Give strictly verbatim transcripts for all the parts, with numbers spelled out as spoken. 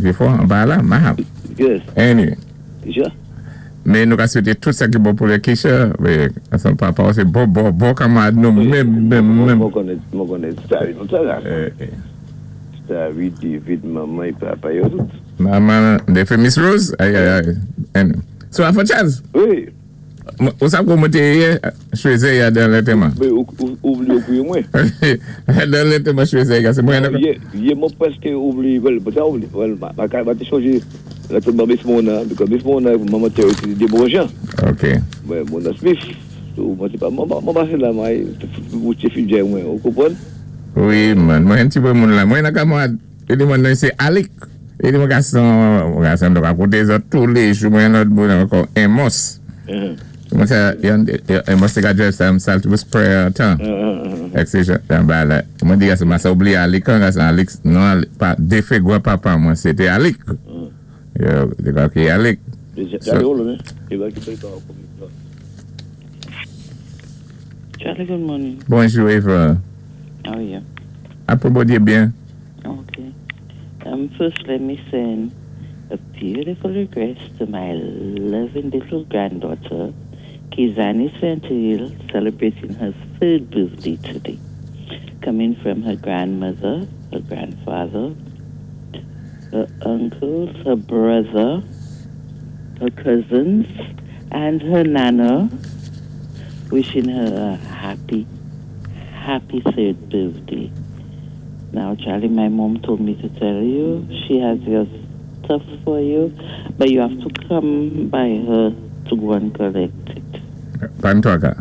ki fò, an ba la, mahap. Yes. Anyway. Kisha? Mais nou ka swété tout sa ki bon pou lé Kisha, wé, son papa, sé bon, bon, bon kanmarad nou, menm, menm, menm. Mwen konnen, mwen konnen Starry, tout sa la. Eh, eh. Starry, David, manman, papa, yo tout. Manman, défé Miss Rose, ay, ay, ay. Anyway. So, Afro Charles, Wi. Ou sa kou mwen té yé, chwézé ya dan lantèman. Mé ou, ou, oublié ou mwen. Dan lantèman chwézé ya, sé mwen. Yé, yé, mwen prèské oublié, well, pa oublié, well, ma, ma, ma té chonjé, lantèman Miss Mona, because Miss Mona, manman té, té dé bon jan. Ok. Wè, Mona Smith. So, mwen sé pa, mwen, mwen pasé la, mwen, mwen té fin djè mwen, ou konpwann? Wi, man, mwen ti bon moun la. Mwen nan kamarad, é di mwen nan sé Alik. É di mwen gason, mwen gason dok akoté zòt tou lé jou, mwen lòt moun ankò, Amos. Mwen sa, yon, Amos té ka drive sa, m sal to spray tan. Ek sé jan, ba la, mwen di gason, mwen sa oublié Alik an, gason Alik, non, pa, défé gwa papa mwen, sé té Alik. Yo, di kwa ki Alik. So, Charlie, good morning. Bonjou, Eva. How are you? Apwé Bondyé byen. Okay. Um, first, let me send a beautiful request to my loving little granddaughter, Kizani Santil, celebrating her third birthday today. Coming from her grandmother, her grandfather, her uncles, her brother, her cousins, and her nana, wishing her a happy, happy third birthday. Now, Charlie, my mom told me to tell you she has your stuff for you, but you have to come by her to go and collect it. Pan toa ka?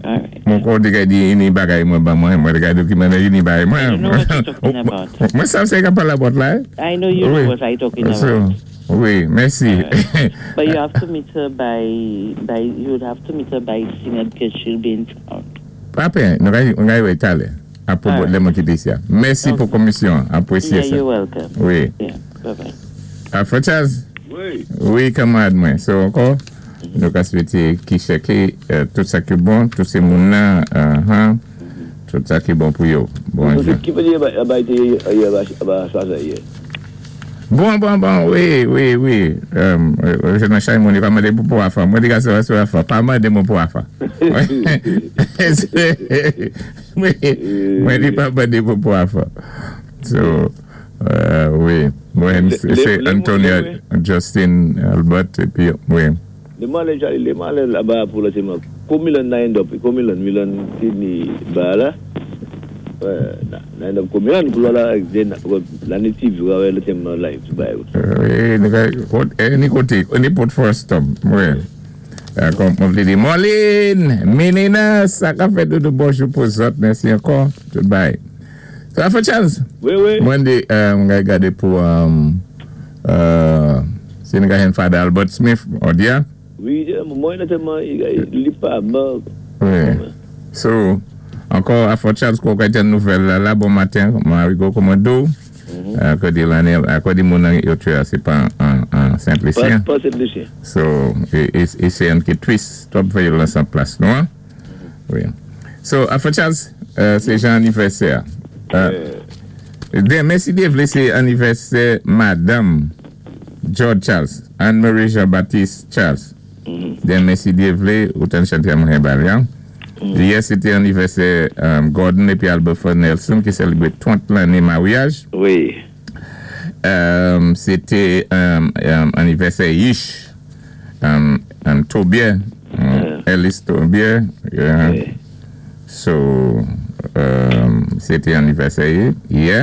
All right. Mwen kon di kay di ini bagay mwen ba mwen, mwen di kay di ki mwen ini bagay mwen. I know what you're talking about. Mwen sav sé ka pala bot la, eh? I know you know Wi. what I'm talking So, about. wi, mèsi. All right. But you have to meet her by by you would have to meet her by Singer because she'll be in town. Papen, nou kay, nou kay wè talè. Apwé All right. lè mwen kité isi a. Mèsi pou komisyon, apwésyé Yeah, sa. you're welcome. Wi. Yeah, bye bye. Afro Charles? Wi. Wi, kanmarad mwen. So, ankò, nou ka swété ki chèké euh, tout sa ki bon, tout sé moun nan, uh, huh, tout sa ki bon pou yo. Bonjou. Ki fè di ba, ba té, ba, ba, sa, sa, yé? Bon, bon, bon, wi, wi, wi. Um, euh, nan chay moun, yo pa mandé pou pou afa. Mwen di ka se sou afa. Pa mandé mwen pou afa. Mwen mwen di pa mandé pou pou afa. So, euh, wi. Mwen, Le- sé le- Antonio, le- Justin, Albert, épi, wi. Lé mwen alé, Charlie, lé mwen alé la-ba pou lantèman. Kou Milan na end up, kou Milan, Milan Sydney ba la. Wè, na, na end up kou Milan pou la, den, la native, wè, lantèman live, ba yo. Wi, nou ka- kote- eh, ni koté, ni pot first stop, wi. Euh, Kòm mwen vlé di, Molin, Menina, sa ka fè doudou bonjou pou zòt, mèsi ankò, tout bay. Sa fè Charles? Wi, wi. Mwen di, euh, mwen gay gadé pou, um, euh, si nou ka hen Father Albert Smith, odia? Wi, mwen lantèman, li pa, ba, Wi. So, ankò, Afro Charles, kou ka ten nouvèl la, la, bon maten, mwen arigo komando, akò di l'année, akò di moun nan yo tué, sé pa an, an pa, Saint-Lucien. pa Saint-Lucien. So, é, é, é sé an ki twis, twòp vyolans an plas, non? Wi. So, Afro Charles, euh, sé jan anivèsè. Euh, Denmen, si Dye vlé, sé anivèsè Madame George Charles, Anne-Marie Jean-Baptiste Charles. Denmen, si Dye vlé, ou tan chanté a mwen bal, Yè, sété anivèsè um, Gordon épi Albert Nelson ki sélébwé trant lanné maryaj. Wi. Um, sété um, um, anivèsè Yish, um, um, Tobier, um, Ellis Tobier. Yeah. Wi. So, um, sété anivèsè yè.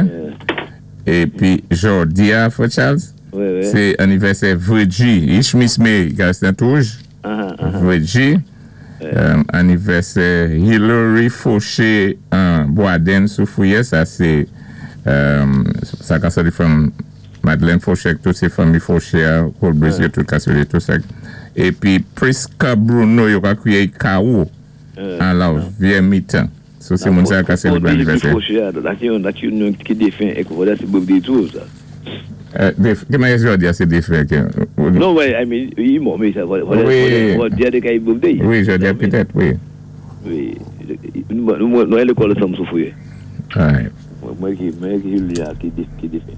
Épi, jòdi a, Frè Charles, Wi, wi. sé anivèsè Virgie, Yish Miss May, Gaston Touge, Ah, ah, Virgie. Um, anivèsè Hillary Fauché um, Boaden Soufouye, sa sé um, sa ka soti from Madeleine Fauché, tout sé fanmi Fauché, Cole Brésil, tout ka soti tout sa. Épi Priska Bruno, yo ka kwiyé K O an la vyé mitan. So sé moun sa ka sélébré anivèsè. La ki yon, la ki yon ki défen, é vwala, sé birthday tou, sa. Euh, déf, ki manyè jòdi a sé défen? Ki, Non, ouais, I mean, i mò, mé sa, vwala, vwala, Wi. vwala, vwala, de kay birthday. Wi, jòdi a petèt, wi. Wi. Nou, nou, nou, lekòl ansanm Soufouye. Right. Mwen ki, mwen ki Julia ki dé, ki défen.